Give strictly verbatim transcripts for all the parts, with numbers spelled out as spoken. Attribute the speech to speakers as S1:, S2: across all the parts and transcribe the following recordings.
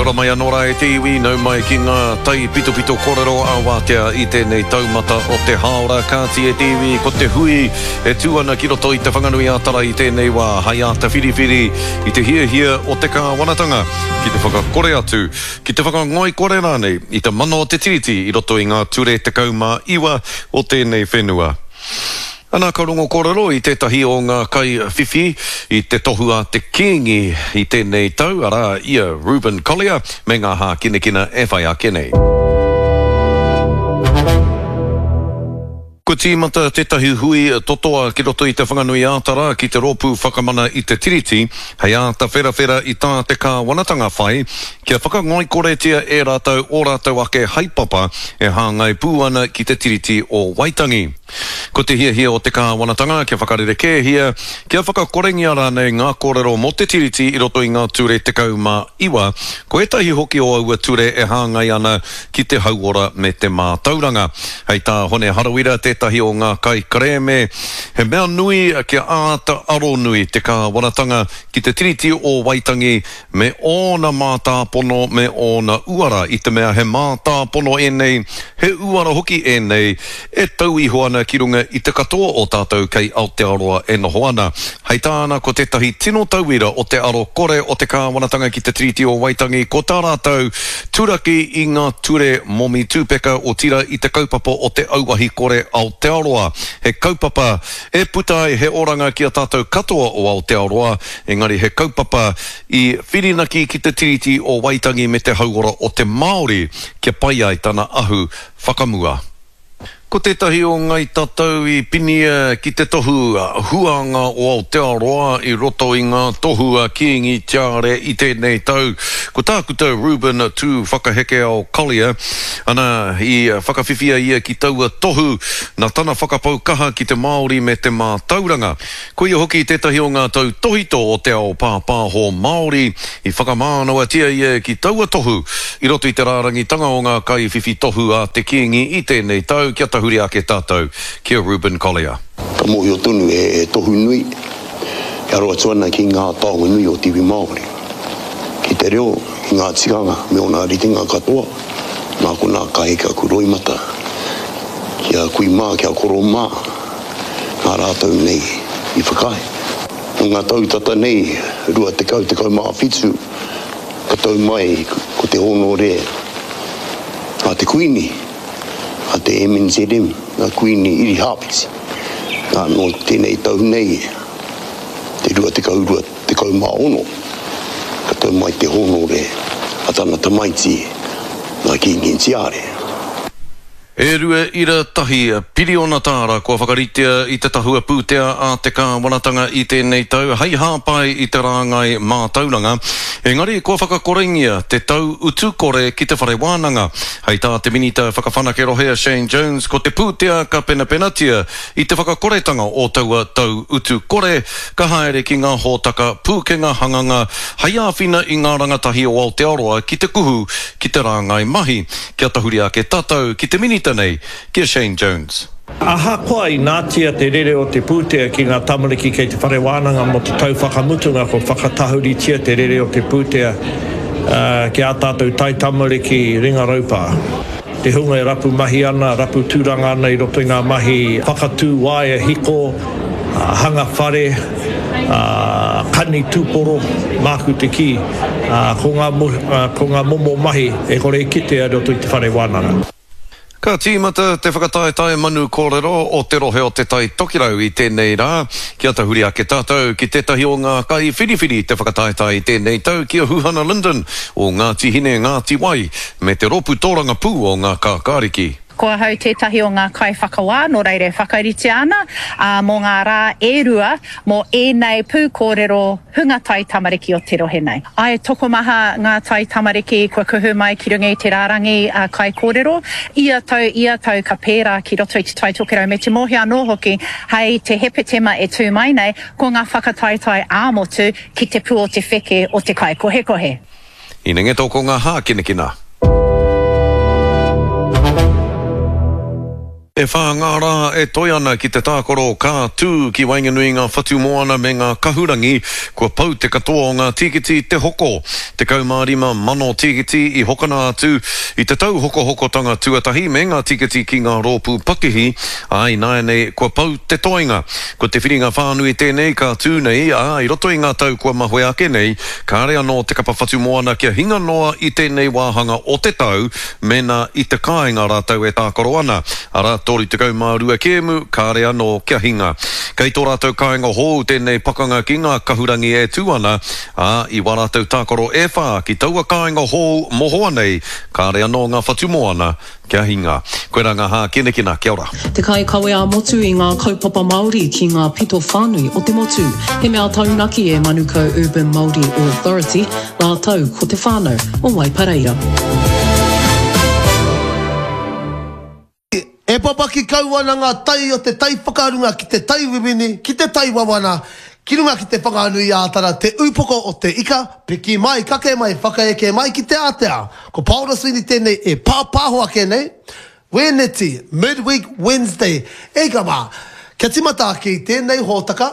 S1: Kia ora mai anō rā e te iwi, nau mai ki ngā taipitopito kōrero a Wātea i tēnei taumata o te hāora. Kāti e te iwi, ko te hui e tū ana ki roto i Te Whanganui-ā-Tara i tēnei wā, hai āta whiriwhiri i te hiahia o te kāwanatanga ki te whakakore atu, ki te whakangoikore rānei i te mana o te Tiriti i roto i ngā ture tekau mā iwa o tēnei whenua. Ana ka rongo kōrero i tētahi o ngā kaiwhiwhi i te tohu a te Kīngi i tēnei tau, arā, i a Reuben Collier me ngā hākinakina e whai ake nei. Kua tīmata tētahi hui totoa ki roto i Te Whanganui-ā-Tara ki te Rōpū Whakamana i te Tiriti hei āta wherawhera i tā te kāwanatanga whai kia whakangoikoretia e rātou ō rātou ake haepapa e hāngai pū ana ki te Tiriti o Waitangi. Ko te hiahia o te kāwanatanga kia whakarerekēhia, kia whakakorengia rānei ngā kōrero mō te Tiriti i roto i ngā ture tekau mā iwa, ko ētahi hoki o aua ture e hāngai ana ki te hauora me te mātauranga. Hei tā Hone Harawira, tētahi o ngā kaikerēme, he mea nui kia āta aronui te kāwanatanga ki te Tiriti o Waitangi me ōna mātāpono me ōna uara, i te mea he mātāpono ēnei, he uara hoki ēnei e tau iho ana ki runga i te katoa o tātou kei Aotearoa e noho ana. Hei tāna, ko tētahi tino tauira o te aro kore o te kāwanatanga ki te Tiriti o Waitangi ko tā rātou turaki i ngā ture momi tūpeka, otirā i te kaupapa o te Auahi Kore Aotearoa, he kaupapa e puta ai he oranga ki a tātou katoa o Aotearoa, engari he kaupapa i whirinaki ki te Tiriti o Waitangi me te hauora o te Māori kia pai ai tana ahu whakamua. Ko tētahi o Ngai Tatau i pinia ki te tohu huanga o Aotearoa i roto i ngā tohu a Kīngi Tiare i tēnei tau, ko Tākuta Reuben Tūwhakahekeao Collier, ana, i whakawhiwhia ia ki taua tohu nā tana whakapau kaha ki te Māori me te mātauranga. Ko ia hoki tētahi o ngā tautōhito o te ao pāpāho Māori i whakamānawatia ia ki taua tohu i roto i te rārangitanga o ngā kaiwhiwhi tohu a te Kīngi i tēnei tau kia tahuri ake tātou ki a Reuben Collier.
S2: Ka mōhio tonu he tohu nui e aro atu ana ki ngā taonga nui o te iwi Māori, ki te reo, ki ngā tikanga me ōna ritenga katoa, nā konā ka heke aku roimata ki a kui mā, ki a koro mā. Nā rātou nei i whakaae. Nō ngā tau tata nei, rua tekau, tekau mā whitu, ka tau mai ko te hōnore a te Kuini, a te M N Z M, a Kuini Irihāpeti. Nā, nō tēnei tau nei, te rua tekau rua tekau mā ono, ka tau mai te hōnore a tana tamaiti, nā Kīngi Tiare.
S1: E rua ira tahi piriona tāra kua whakaritea i te tahua pūtea a te kāwanatanga i tēnei tau hei hāpai i te rāngai mātauranga, engari kua whakakorengia te tau utu kore ki te whare wānanga. Hei tā te Minita Whakawhanake Rohe a Shane Jones, ko te pūtea ka penapenatia i te whakakoretanga o taua tau utu kore ka haere ki ngā hōtaka pūkenga hanganga hei āwhina i ngā rangatahi o Aotearoa ki te kuhu ki te rāngai mahi. Kia tahuri ake tātou ki te minita nei, ki a Shane Jones.
S3: Ahakoa inātia te rere o te pūtea ki ngā tamariki kei te whare wānanga mō te tau whakamutunga kua whakatahuritia te rere o te pūtea ki ā tātou taitamariki ringa raupā. Te hunga e rapu mahi ana, rapu tūranga ana i roto i ngā mahi whakatū waea hiko, hanga whare, kani tūporo, māku te kī, ko ngā, ko ngā momo mahi e kore e kitea i roto i te whare wānanga.
S1: Ka tīmata te whakataetae manu kōrero o te rohe o Te Tai Tokerau i tēnei rā. Kia tahuri ake tātou ki tētahi o ngā kaiwhiriwhiri te whakataetae i tēnei tau ki a Huhana Lyndon o Ngāti Hine, Ngāti Wai me te rōpū tōrangapū o Ngā Kākāriki.
S4: Ko ahau tētahi o ngā kaiwhakawā, nō reira e whakaritea ana, ā, mō ngā rā e rua mō ēnei pūkōrero hunga taitamariki o te rohe nei. Āe, tokomaha ngā taitamariki kua kuhu mai ki runga i te rārangi kaikōrero. Ia tau, ia tau ka pērā ki roto i Te Tai Tokerau me te mōhio anō hoki hei te Hepetema e tū mai nei, ko ngā whakataetae ā-motu ki te pū o te wheke o te kaikohekohe.
S1: Inengeto ko ngā hākinakina. E whā ngā rā e toe ana ki te tākaro ka tū ki waenganui i ngā whatumoana me ngā kahurangi, kua pau te katoa o ngā tīkiti te hoko. Tekau mā rima mano tīkiti i hokona atu i te tauhokohokotanga tuatahi me ngā tīkiti ki ngā rōpū pakihi, ā, ināianei kua pau te toenga. Ko te whiringa whānui tēnei ka tū nei, ā, i roto i ngā tau kua mahue ake nei, kāre anō te kapa whatumoana kia hinga noa i tēnei wāhanga o te tau mēnā i te kāinga rātou e tākaro ana, arā, toru tekau mā rua kēmu, kāre anō kia hinga. Kei tō rātou kāinga hou tēnei pakanga ki ngā kahurangi e tū ana, ā, i wā rātou tākaro e whā ki taua kāinga hou mohoa nei, kāre anō ngā whatumoana kia hinga. Koirā ngā hākinakina, kia ora.
S5: Te kaikawe ā-motu i ngā kaupapa Māori ki ngā pito whānui o te motu. He mea taunaki e Manukau Urban Māori Authority rātou ko te whānau o Waipareira.
S6: E papaki kau ana ngā tai o te tai whakarunga ki te tai wiwini, ki te tai wawana, ki runga ki te Whanganui-ā-Tara, te upoko o te ika, piki mai, kake mai, whakaeke mai ki te ātea. Ko Paora Sweeney tēnei e pāpāho ake nei, Wēneti, Midweek Wednesday. E hika mā, kia tīmata ake i tēnei hōtaka,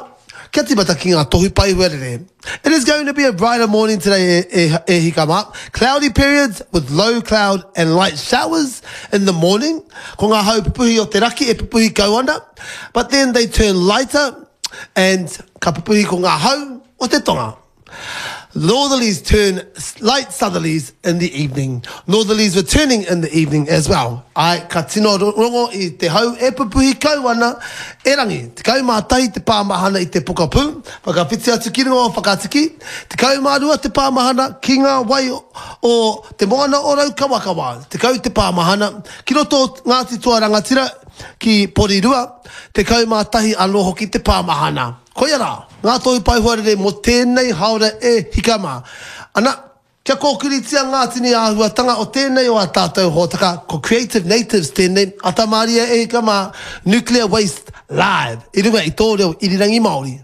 S6: kia tīmata ki ngā tohu pai huarere. It is going to be a brighter morning today e, e, e hika mā. Cloudy periods with low cloud and light showers in the morning. Ko ngā hau pupuhi o te raki e pupuhi kau ana. But then they turn lighter and ka pupuhi ko ngā hau o te tonga. Northerlies turn light southerlies in the evening. Northerlies returning in the evening as well. Āe, ka tino rongo i te hau e pupuhi kau ana, erangi, tekau mā tahi te pāmahana i te pokapū, whakawhiti atu ki runga o Whakatiki, tekau mā rua te pāmahana ki ngā wai o Te Moana o Raukawakawa, tekau te pāmahana ki roto o Ngāti Toa Rangatira ki Porirua, tekau mā tahi anō hoki te pāmahana. Koia rā ngā tohu pae huarere mō tēnei haora e hika mā. Ana, kia kōkiritia ngā tini āhuatanga o tēnei o ā tātou hōtaka, ko Creative Natives tēnei, ata mārie e hika mā, Nuclear Waste Live, i runga i tō reo irirangi Māori.